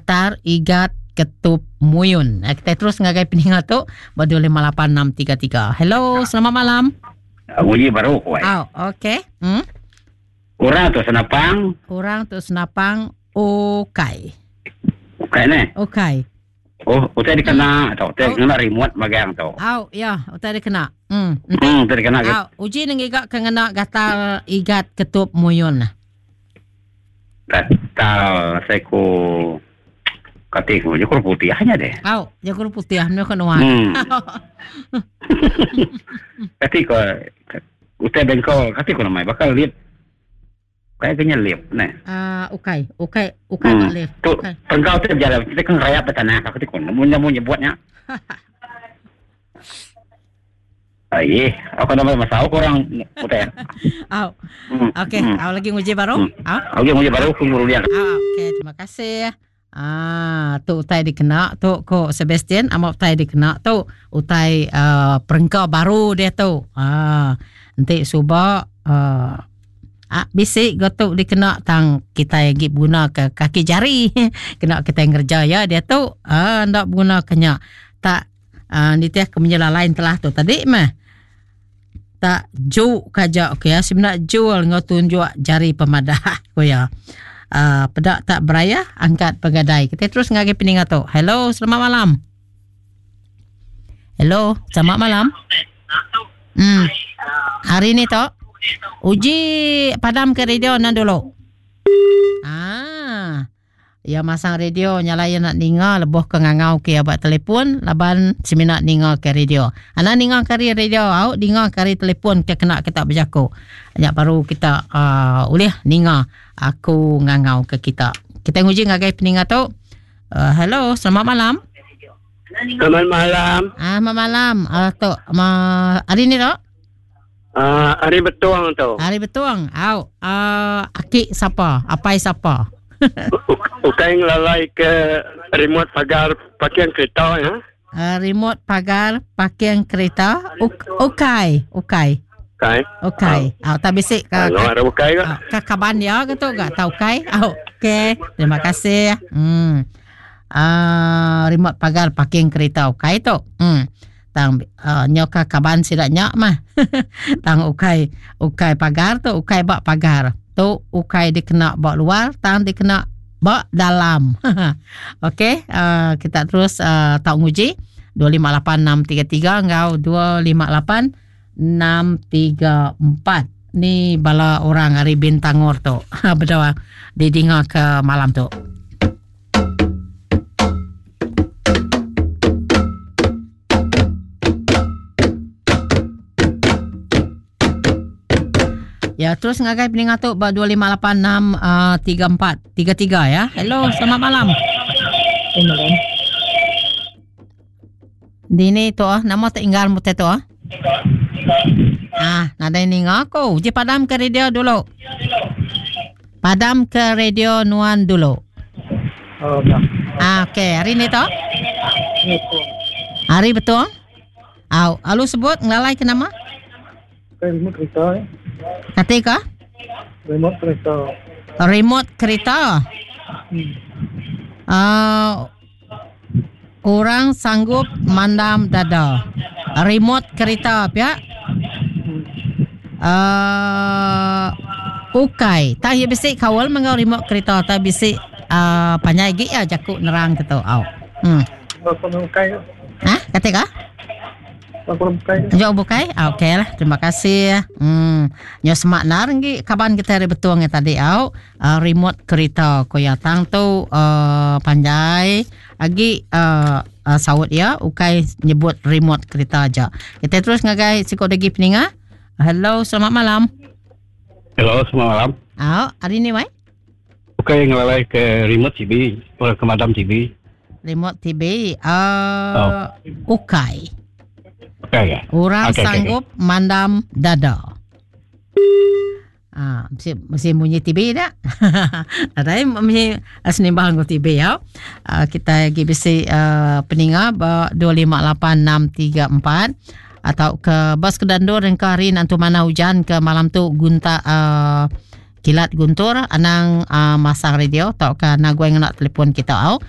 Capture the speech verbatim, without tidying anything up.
Gatar igat ketup muyun. Eh, kita terus ngagai peninga tu ba dua lima lapan enam tiga tiga. Hello, selamat malam. Uji baru ku ai. Au, okey. Hmm. Orang tu senapang. Orang tu senapang ukai. Ukai ne? Ukai. Oh, utai dikena tu, utai Oh. ngena remote magang tu. Au, ya, utai dikena. Hmm. Hmm, utai dikena. Au, uji ngiga ke ngena gatal igat ketup muyun. Gatal seku kati ku jaku putih hanya deh. Au, jaku putih ne ko nuan. Hmm. Kati ko utai bengkol kati ko namai bakal lip. Kayak kena lip ne. Ah, uh, ukai, ukai, ukai hmm. lip. Tu pengkau tu jalan kita kan rayap tanah aku tu kon. Mun mun nyebutnya. Ai, aku nama masa aku orang utai. Au. Hmm. Okey, Hmm. au lagi nguji baru. Hmm. Au. Okey, nguji baru ku nguru dia. Ah, okey, terima kasih. Ah, tu utai dikena tu ko Sebastian, amat utai dikena tu utai uh, perengka baru dia tu. Ah, enti suba uh, ah, bisi go tu dikena tang kita lagi guna ke kaki jari. Kena kita ngerja ya dia tu. Ah, ndak guna kenya. Tak ah, nitiah ke menyela lain telah tu tadi mah. Tak ju kaja okey ya sebenar jual ngau tunjuk jari pemadah ko ya. Uh, pedak tak beraya angkat pegadai. Kita terus ngagai peningat tu. Hello, selamat malam. Hello, selamat malam. Hmm. Hari ni tok uji padam ke radio nan dulu. Ah. Ya masang radio nyala ya nak ninga leboh ke ngangau ke abak telefon laban semina ninga ke radio. Ana ninga kari radio au ninga kari telefon ke kena kita berjaku. Nya baru kita uh, ulih ninga aku ngangau ke kita. Kita nguji ngagai peninga tu. Uh, hello, selamat malam. Selamat malam. Ah, selamat malam. Ah uh, tu ma hari ni tok? Ah, hari betuang tu. Hari betuang. Au, uh, aki siapa? Apai siapa? Ukai ngelalai ke remote pagar parking kereta ya. Uh, remote pagar parking kereta. Uk, ukai, ukai. Ukai. Ukai. Ah, tak bisik ke. Ke ukai ke? Ke kaban ya ke tu gak tahu ukai. Ah, okey. Terima kasih. Hmm. Ah, remote pagar parking kereta ukai tu. Hmm. Tang uh, nyoka kaban sidak nyak mah. Tang ukai, ukai pagar tu, ukai bak pagar. Tu ukai dikena bak luar, tang dikena bak dalam. Okey, uh, kita terus uh, tak nguji dua lima lapan enam tiga tiga ngau dua lima lapan enam tiga empat. Ni bala orang hari Bintangor tu. Berdoa didinga ke malam tu. Ya, terus ngagai peningat tu ba dua lima lapan enam uh, tiga empat tiga tiga ya. Hello, selamat malam. Selamat malam. Dini tu ah, nama tak inggal mu tu ah. Ah, nadai ninga aku. Je padam ke radio dulu. Padam ke radio nuan dulu. Oh, dah. Ah, okey. Hari ni tu? Hari betul? Au, alu sebut ngelalai ke nama? Remote kereta. Eh. Kata ke? Remote kereta. Remote kereta. Hmm. Uh, orang sanggup mandam dada. Remote kereta pihak. Hmm. Uh, ukai. Tak ya bisik kawal mengau remote kereta tak bisik uh, panjai gik ya jakuk nerang ketu. Au. Hmm. Ukai. Ha? Kata ke? Jauh bukai? Ah, okey lah. Terima kasih. Hmm. Nyo semak nar ngi kaban kita hari betuang yang tadi au. Uh, remote kereta ko ya tang tu uh, panjai agi uh, uh, saut ya ukai nyebut remote kereta aja. Kita terus ngagai sikok lagi peninga. Hello, selamat malam. Hello, selamat malam. Ah, hari ni wai? Ukai ngelalai ke remote T V, ke madam T V. Remote T V uh, oh. Ukai. Okay, okay. Orang okay, sanggup okay, okay. mandam dada. Ah, mesti, mesti bunyi T V dak. Ada mesti senimbang ku T V ya. Ah, kita lagi bisi uh, peninga ba dua lima lapan enam tiga empat atau ke bas ke dandur dan ke hari nanti mana hujan ke malam tu gunta uh, kilat guntur anang uh, masang radio atau ke naguang nak telefon kita au.